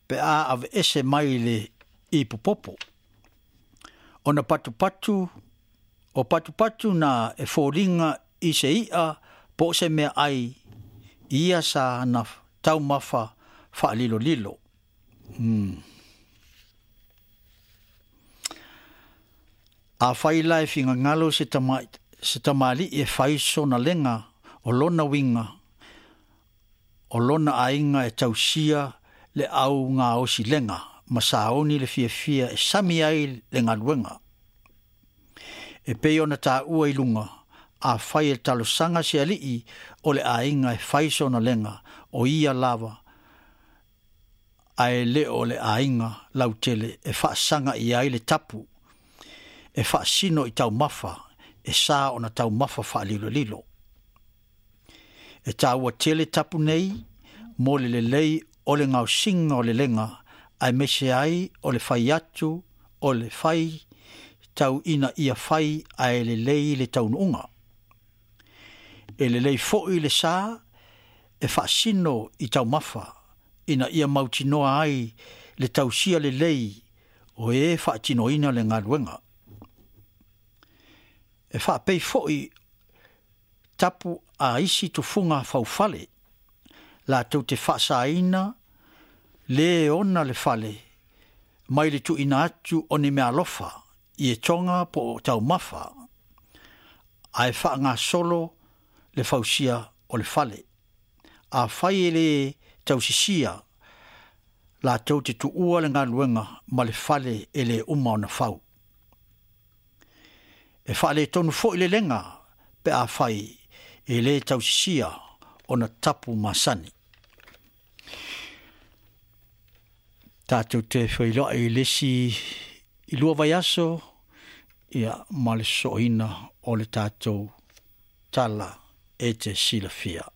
pe a aveese mai le ipupopo. Ona patupatu, o patupatu na e foliga i se i'a po o se meaai i ia sa na taumafa faalilolilo. Afai la e finagalo se tama, se tamalii e fai sona lega, o lona uiga, o lona aiga e tausia le au gaosi lega ma saoni le fiafia e sami ai le galuega. E pei ona taua i luga, afai e talosaga se alii o le aiga e fai sona lega, o ia lava, ae le o le aiga lautele e faasaga i ai le tapu, e faasino i taumafa, e sa ona taumafa faalilolilo. E taua tele tapu nei mo le lelei o le gaosiga o le lega, aemaise ai o le fai atu o le fai tau ina ia fai ae lelei le taunuuga. E lelei foi le sa e faasino i taumafa ina ia mautinoa ai le tausia lelei o e faatinoina le galuega. E faapei foi tapu a isi tufuga faufale latou te faasaina le ona le fale mai le tuuina atu o ni meaalofa i etoga po o taumafa, ae faagasolo le fausia o le fale. Afai e le tausisia, latou te tuua le galuega ma le fale e le uma ona fau. E faaletonu foi le lega pe afai e le tausisia ona tapu masani. Tatou te feiloai i le isi i 2 vaiaso, ia, ma le sosooina o le tatou tala e te silafia.